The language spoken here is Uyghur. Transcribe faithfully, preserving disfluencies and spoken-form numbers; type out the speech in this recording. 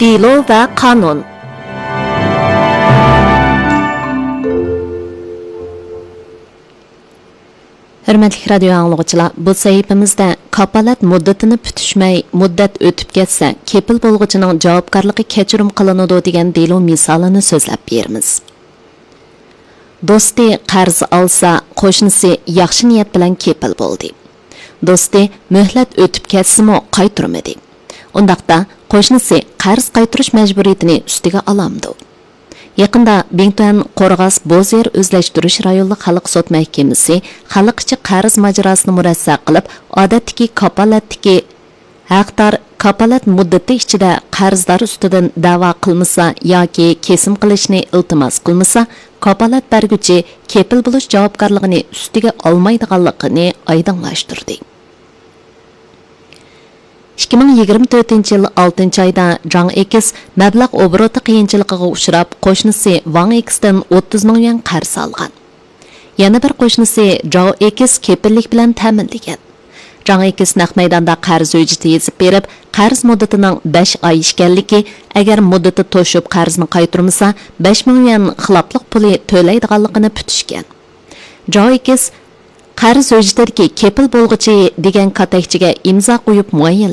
دېلو ۋە قانۇن. ھۆرمەتلىك رادىيو ئاڭلىغۇچىلار، بۇ سەھىپىمىزدە كاپالەت مۇددىتىنى پۈتۈشمەي، مۇددەت ئۆتۈپ كەتسە، كېپىل بولغۇچىنىڭ جاۋابكارلىقى كەچۈرۈم قىلىنىدۇ دېگەن دېلو مىسالىنى سۆزلەپ بېرىمىز. دوستى قەرز ئالسا، قوشنىسى ياخشى نىيەت بىلەن كېپىل بولدى. دوستى مۆھلەت ئۆتۈپ كەتسىمۇ قايتۇرمىدى. ئۇنداقتا، قوشنىسى قەرز قايتۇرۇش مەجبۇرىيىتىنى ئۈستىگە ئالامدۇ؟ يېقىندا بىڭتۈەن قورغاس بوز يەر ئۆزلەشتۈرۈش رايونلۇق خەلق سوت مەھكىمىسى خەلق ئىچى قەرز ماجىراسىنى مۇرەسسە قىلىپ، ئادەتتىكى كاپالەتتىكى ھەقدار كاپالەت مۇددىتى ئىچىدە قەرزدار ئۈستىدىن دەۋا قىلمىسا ياكى كېسىم قىلىشنى ئىلتىماس قىلمىسا، كاپالەت بەرگۈچى كېپىل بولۇش جاۋابكارلىقىنى ئۈستىگە ئالمايدىغانلىقىنى ئايدىڭلاشتۇردى. ئىككى مىڭ يىگىرمە تۆتىنچى يىل ئالتىنچى ئايدا جاڭ ئېكىس مەبلەغ ئوبوروتى قىيىنچىلىقىغا ئۇچراپ، قوشنىسى ۋاڭ ئېكىستىن ئوتتۇز مىڭ يۈەن قەرز ئالغان. يەنە بىر قوشنىسى جاۋ ئېكىس كېپىللىك بىلەن تەمىنلىگەن. جاڭ ئېكىس نەق مەيداندا قەرز ھۆججىتى يېزىپ بېرىپ، قەرز مۇددىتىنىڭ بەش ئاي ئىكەنلىكى، ئەگەر مۇددىتى توشۇپ قەرزنى قايتۇرمىسا، بەش مىڭ يۈەن خىلاپلىق پۇلى تۆلەيدىغانلىقىنى پۈتۈشكەن. جاۋ ئېكىس قەرز ھۆججىتىدىكى كېپىل بولغۇچى دېگەن كاتەكچىگە ئىمزا قويۇپ مۇئەييەنلەشتۈرگەن.